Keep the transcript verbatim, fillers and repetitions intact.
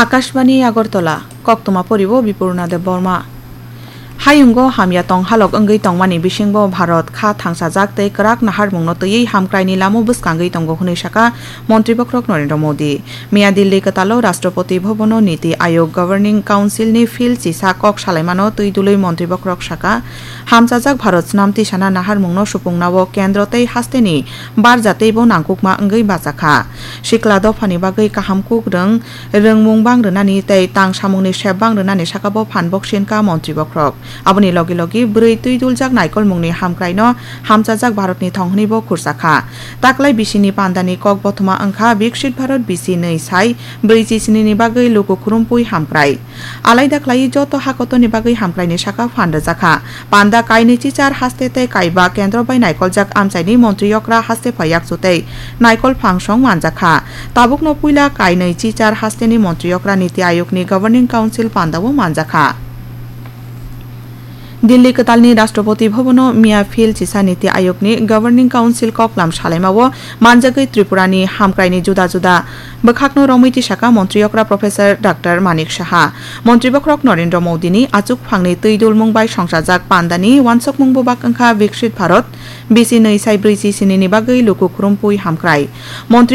Akashbani Agartala, koktwma poribo Bipurna Debbarma. Hayungo hamya tong halok wngwi tongmani bisingbo Bharat kha thangsajak tei kwrak naharmungno twiwi hamkraini lamo bwskangwi tongo hwnwi sakha Montri Bokhorok Narendra Modi. Miya Delhi kwtalo Rashtrapati Bhabono Niti Ayog Governing Council ni field chisa kok salaimano twi dului Montri Bokhorok sakha, hamchajak Bharat snam tisana naharmungno supungnao kendro tei hasteni barja teibo nangkukma wngwi bajakha. Sikla dophani bagwi kaham kukrwng rwngmung bang rwnani tei tang samungni sep bang rwnani sakabo phan boksinka Montri Bokhorok. Aboni logi logi bwrwi twi duljak naikolmungni hamkraino hamchajak Bharatni thong hwnwibo khurjakha. Taklai bisini pandani kok bothoma wngkha Viksit Bharat bisi nwi sai brwichi sinini bagwi luku khurumphwi hamkrai. Alaida khlaiwi joto hakotorni bagwi hamkraini sakha phan rwjakha. Panda kainwi chichar haste tei kaiba kendro bai naikoljak amchaini montri okra haste phai yakchu tei naikol phangsong manjakha. Tabukno puila kainwi chichar hasteni montri okra Niti Ayogni Governing Council pandao manjakha. Delhi kwtalni Rashtrapati Bhabono miya field chisa Niti Ayogni Governing Council koklam salaimao manjagwi Tripurani hamkraini juda juda bwkhakno romwi tisaka montri okra Professor Doctor Manik Saha. Montri Bokhorok Narendra Modini achukphangni twi dulmung bai songchajak pandani wansokmung bubak wngkha Viksit Bharat bisi nwi sai brwichi sinini bagwi luku khurumphwi hamkrai. Montri